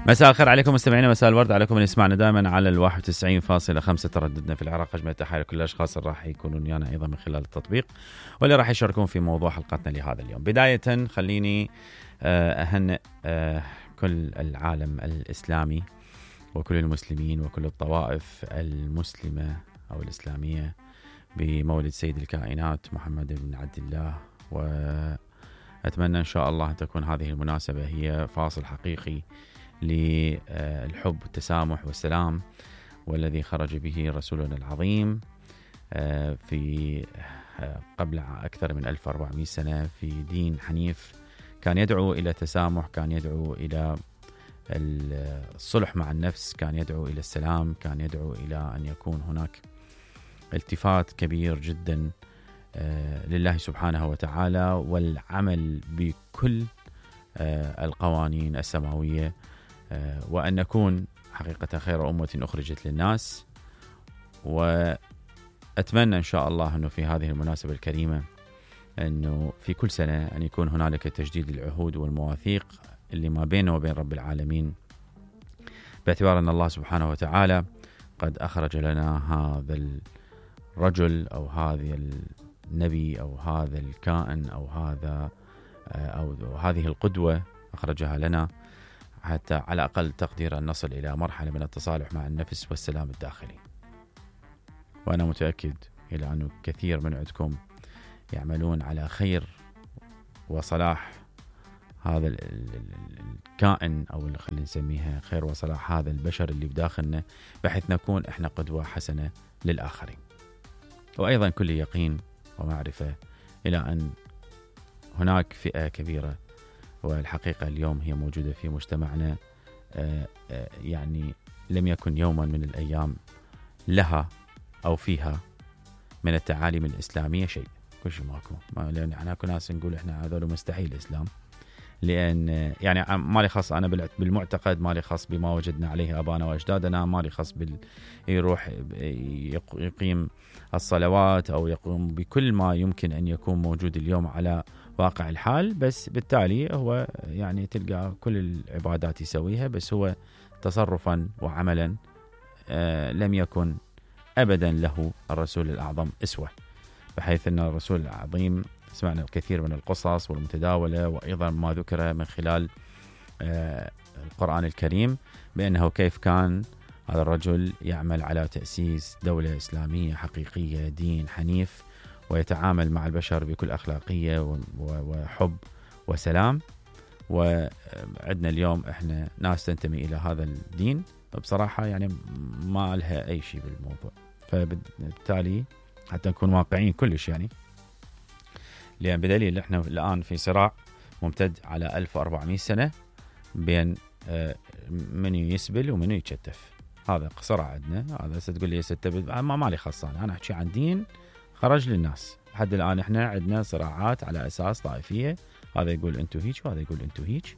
مساء الخير عليكم مستمعينا، مساء الورد عليكم اللي يسمعنا دائما على 91.5 ترددنا في العراق. أجمل تحية لكل الأشخاص اللي راح يكونون ويانا أيضا من خلال التطبيق واللي راح يشاركون في موضوع حلقتنا لهذا اليوم. بداية خليني أهنئ كل العالم الإسلامي وكل المسلمين وكل الطوائف المسلمة أو الإسلامية بمولد سيد الكائنات محمد بن عبد الله، وأتمنى إن شاء الله أن تكون هذه المناسبة هي فاصل حقيقي للحب والتسامح والسلام، والذي خرج به رسولنا العظيم في قبل أكثر من 1400 سنة في دين حنيف كان يدعو إلى التسامح، كان يدعو إلى الصلح مع النفس، كان يدعو إلى السلام، كان يدعو إلى أن يكون هناك التفات كبير جدا لله سبحانه وتعالى، والعمل بكل القوانين السماوية، وأن نكون حقيقة خير أمة أخرجت للناس. وأتمنى إن شاء الله أنه في هذه المناسبة الكريمة أنه في كل سنة أن يكون هنالك تجديد العهود والمواثيق اللي ما بينه وبين رب العالمين، باعتبار أن الله سبحانه وتعالى قد أخرج لنا هذا الرجل أو هذا النبي أو هذا الكائن أو هذه القدوة أخرجها لنا حتى على أقل تقدير أن نصل إلى مرحلة من التصالح مع النفس والسلام الداخلي. وأنا متأكد إلى أنه كثير من عندكم يعملون على خير وصلاح هذا الكائن، أو اللي خلينا نسميها خير وصلاح هذا البشر اللي بداخلنا، بحيث نكون إحنا قدوة حسنة للآخرين. وأيضا كل يقين ومعرفة إلى أن هناك فئة كبيرة، والحقيقة اليوم هي موجودة في مجتمعنا، يعني لم يكن يوما من الأيام لها أو فيها من التعاليم الإسلامية شيء، كل شيء ماكو. لأن احنا كنا ناس نقول احنا هذول مستحيل الإسلام، لأن يعني ما لي خاص أنا بالمعتقد، ما لي خاص بما وجدنا عليه آبانا وأجدادنا، ما لي خاص يروح يقيم الصلوات أو يقوم بكل ما يمكن أن يكون موجود اليوم على واقع الحال، بس بالتالي هو يعني تلقى كل العبادات يسويها، بس هو تصرفا وعملا لم يكن أبدا له الرسول الأعظم أسوة، بحيث أن الرسول العظيم سمعنا الكثير من القصص والمتداولة، وأيضا ما ذكر من خلال القرآن الكريم بأنه كيف كان هذا الرجل يعمل على تأسيس دولة إسلامية حقيقية، دين حنيف، ويتعامل مع البشر بكل أخلاقية وحب وسلام. وعندنا اليوم إحنا ناس تنتمي إلى هذا الدين بصراحة يعني ما لها أي شيء بالموضوع، فبالتالي حتى نكون واقعيين كلش، يعني لأن بدليل إحنا الآن في صراع ممتد على 1400 سنة بين منو يسبل ومنو يتشتف. هذا صراع عندنا. هذا ستقول لي ستبد ما لي خاص، أنا أحكي عن دين خرج للناس. لحد الآن إحنا عندنا صراعات على أساس طائفية، هذا يقول أنتو هيك وهذا يقول أنتو هيك،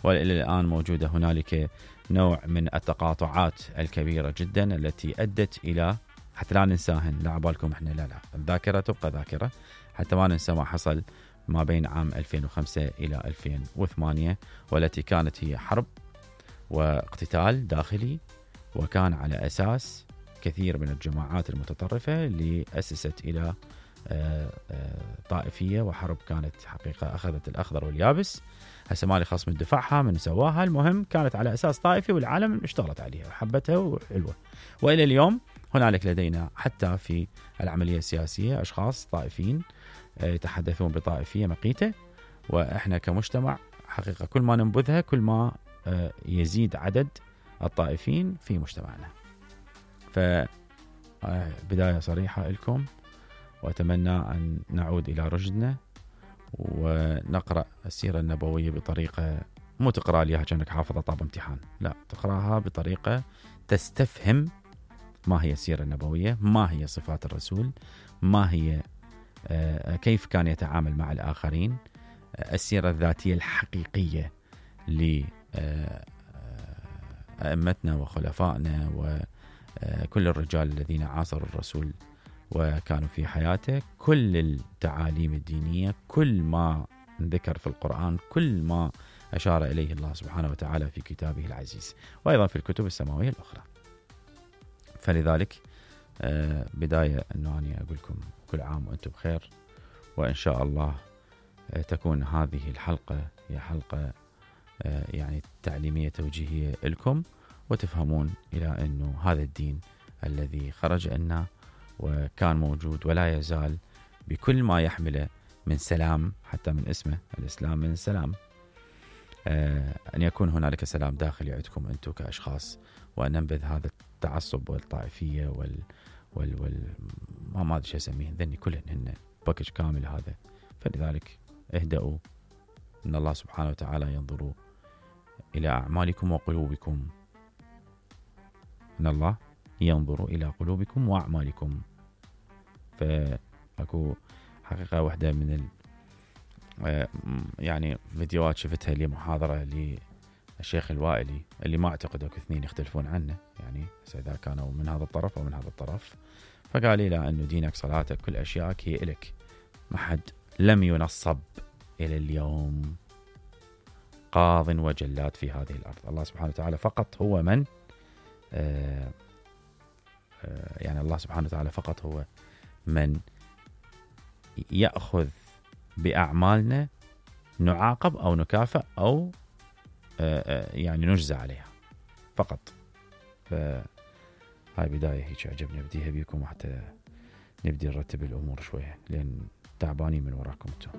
وإلى الآن موجودة هنالك نوع من التقاطعات الكبيرة جدا التي أدت إلى، حتى لا ننساهن، لا عبالكم إحنا، لا الذاكرة تبقى ذاكرة، حتى ما ننسى ما حصل ما بين عام 2005 إلى 2008، والتي كانت هي حرب واقتتال داخلي، وكان على أساس كثير من الجماعات المتطرفة اللي أسست إلى طائفية وحرب كانت حقيقة أخذت الأخضر واليابس. هسه مالي خاص من دفاعها من سواها، المهم كانت على أساس طائفي والعالم اشتغلت عليها وحبتها وحلوة. وإلى اليوم هنالك لدينا حتى في العملية السياسية أشخاص طائفيين يتحدثون بطائفية مقيتة، وإحنا كمجتمع حقيقة كل ما ننبذها كل ما يزيد عدد الطائفين في مجتمعنا. فبداية صريحة لكم، وأتمنى أن نعود إلى رشدنا ونقرأ السيرة النبوية بطريقة مو تقرأ ليها كأنك حافظة طاب امتحان، لا، تقرأها بطريقة تستفهم ما هي السيرة النبوية، ما هي صفات الرسول، ما هي كيف كان يتعامل مع الآخرين، السيرة الذاتية الحقيقية لأئمتنا وخلفائنا وكل الرجال الذين عاصروا الرسول وكانوا في حياته. كل التعاليم الدينية، كل ما ذكر في القرآن، كل ما أشار إليه الله سبحانه وتعالى في كتابه العزيز، وأيضا في الكتب السماوية الأخرى. فلذلك بداية أنه أنا أقول لكم كل عام وأنتم بخير، وإن شاء الله تكون هذه الحلقة هي حلقة يعني تعليمية توجيهية لكم، وتفهمون إلى أنه هذا الدين الذي خرج لنا وكان موجود ولا يزال بكل ما يحمله من سلام، حتى من اسمه الإسلام من السلام، أن يكون هنالك سلام داخلي عندكم أنتم كأشخاص، وأن ننبذ هذا التعصب والطائفية ما أدري شو أسميه، ذني كلهن هن باكج كامل هذا. فلذلك اهدأوا، إن الله سبحانه وتعالى ينظر إلى أعمالكم وقلوبكم، إن الله ينظر إلى قلوبكم وأعمالكم. فأكو حقيقة واحدة من يعني فيديوهات شفتها لمحاضرة للشيخ الوائلي، اللي ما أعتقد أكو اثنين يختلفون عنه، يعني إذا كانوا من هذا الطرف أو من هذا الطرف. فقال لي أنه دينك صلاتك كل أشيائك هي إلك، ما حد لم ينصب إلى اليوم قاض وجلاد في هذه الأرض. الله سبحانه وتعالى فقط هو من يعني الله سبحانه وتعالى فقط هو من يأخذ بأعمالنا نعاقب أو نكافئ أو يعني نجزى عليها فقط. فهاي بداية هيك عجبني أبديها بيكم حتى نبدي نرتب الأمور شوية، لأن تعبانين من وراكم انتم.